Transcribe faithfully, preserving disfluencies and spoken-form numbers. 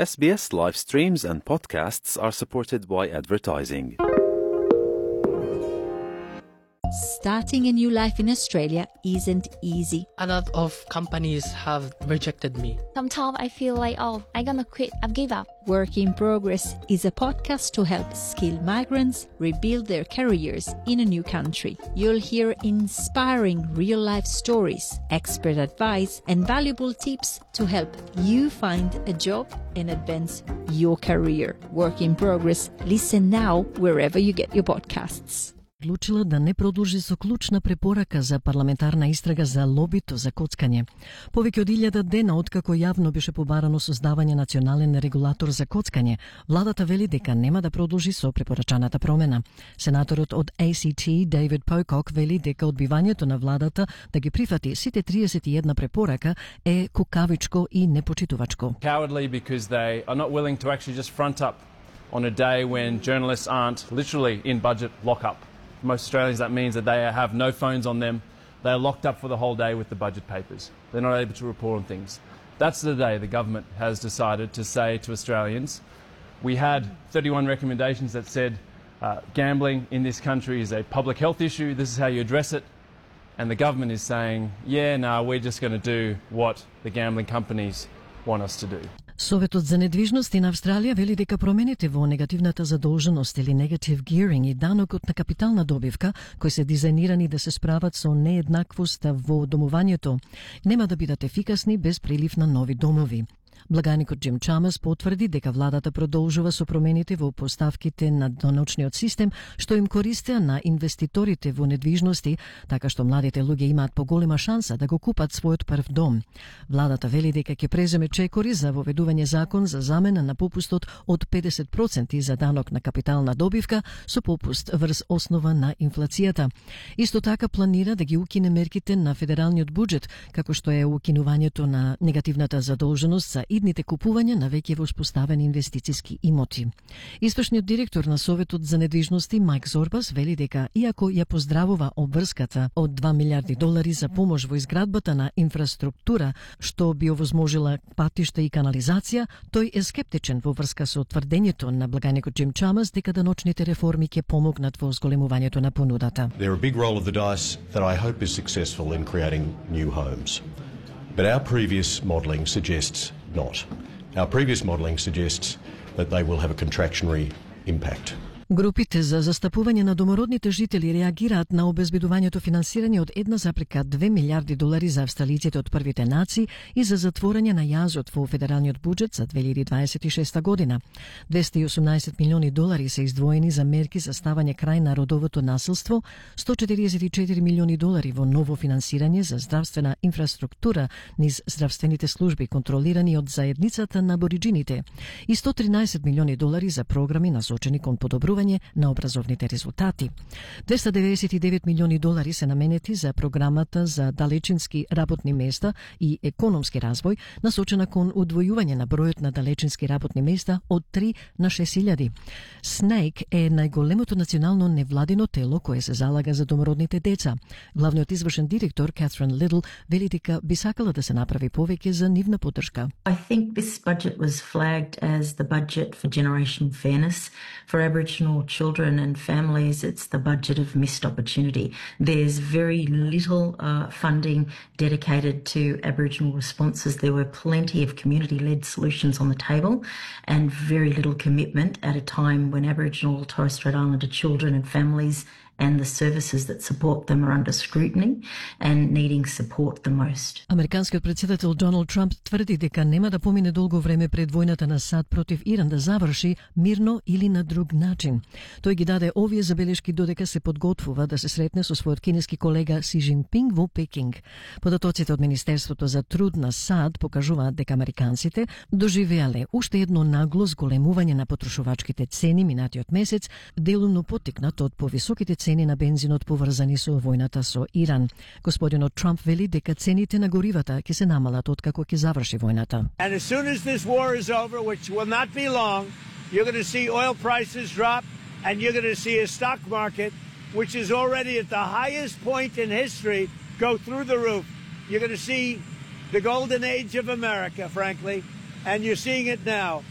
S B S live streams and podcasts are supported by advertising. Starting a new life in Australia isn't easy. A lot of companies have rejected me. Sometimes I feel like, oh, I'm gonna quit, I've give up. Work in Progress is a podcast to help skilled migrants rebuild their careers in a new country. You'll hear inspiring real-life stories, expert advice, and valuable tips to help you find a job and advance your career. Work in Progress. Listen now wherever you get your podcasts. Одлучила да не продолжи со клучна препорака за парламентарна истрага за лобито за коцкање. Повеќе од илјада дена откако јавно беше побарано создавање национален регулатор за коцкање, владата вели дека нема да продолжи со препорачаната промена. Сенаторот од A C T David Pocock вели дека одбивањето на владата да ги прифати сите триесет и една препорака е кукавичко и непочитувачко. Cowardly because they are not willing to actually just front up on a day when journalists aren't literally in budget lock-up. For most Australians, that means that they have no phones on them. They are locked up for the whole day with the budget papers. They're not able to report on things. That's the day the government has decided to say to Australians, we had thirty-one recommendations that said uh, gambling in this country is a public health issue, this is how you address it. And the government is saying, yeah, no, we're just going to do what the gambling companies want us to do. Советот за недвижности на Австралија вели дека промените во негативната задолженост или negative gearing и данокот на капитална добивка, кои се дизајнирани да се справат со нееднаквоста во домувањето, нема да бидат ефикасни без прилив на нови домови. Благаникот Джим Чамас потврди дека владата продолжува со промените во поставките на даночниот систем, што им користеа на инвеститорите во недвижности, така што младите луѓе имаат поголема шанса да го купат својот прв дом. Владата вели дека ќе преземе чекори за воведување закон за замена на попустот од педесет проценти за данок на капитална добивка со попуст врз основа на инфлацијата. Исто така планира да ги укине мерките на федералниот буџет, како што е укинувањето на негативната задолженост за идните купувања на веќе воспоставени инвестициски имоти. Извршниот директор на Советот за недвижности Майк Зорбас вели дека иако ја поздравува обврската од два милиарди долари за помош во изградбата на инфраструктура што би овозможила патишта и канализација, тој е скептичен во врска со тврдењето на благаникот Джим Чамас дека даночните реформи ќе помогнат во зголемувањето на понудата. They're a big roll of the dice that I hope is successful in creating new homes. But our previous modelling suggests not. Our previous modelling suggests that they will have a contractionary impact. Групите за застапување на домородните жители реагираат на обезбедувањето финансирање од една запрека две милиарди долари за австралиците од првите нации и за затворање на јазот во федералниот буџет за две илјади дваесет и шеста година. двесте и осумнаесет милиони долари се издвоени за мерки за ставање крај на родовото насилство, сто четириесет и четири милиони долари во ново финансирање за здравствена инфраструктура низ здравствените служби контролирани од заедницата на абориџините и сто тринаесет милиони долари за програми насочени кон подобрување на образовните резултати. двесте деветдесет и девет милиони долари се наменети за програмата за далечински работни места и економски развој, насочена кон удвојување на бројот на далечински работни места од три на шест илјади. Снейк е најголемото национално невладино тело кое се залага за домородните деца. Главниот извршен директор Катрин Лидл вели дека би сакала да се направи повеќе за нивна поддршка. I think this budget was flagged as the budget for generation fairness. For Aboriginal children and families, it's the budget of missed opportunity. There's very little uh, funding dedicated to Aboriginal responses. There were plenty of community-led solutions on the table and very little commitment at a time when Aboriginal and Torres Strait Islander children and families and the services that support them are under scrutiny and needing support the most. Американскиот претседател Доналд Трамп тврди дека нема да помине долго време пред војната на САД против Иран да заврши мирно или на друг начин. Тој ги даде овие забелешки додека се подготвува да се сретне со својот кинески колега Си Жинпинг во Пекинг. Податоците од Министерството за труд на САД покажуваат дека американците доживеале уште едно нагло зголемување на потрошувачките цени минатиот месец, делумно поттикнат од повисоките цени на бензинот поврзани со војната со Иран. Господинот Трамп вели дека цените на горивата ќе се намалат откако ќе заврши војната. And as soon as this war is over, which will not be long, you're going to see oil prices drop and you're going to see a stock market which is already at the highest point in history go through the roof. You're going to see the golden age of America, frankly, and you're seeing it now.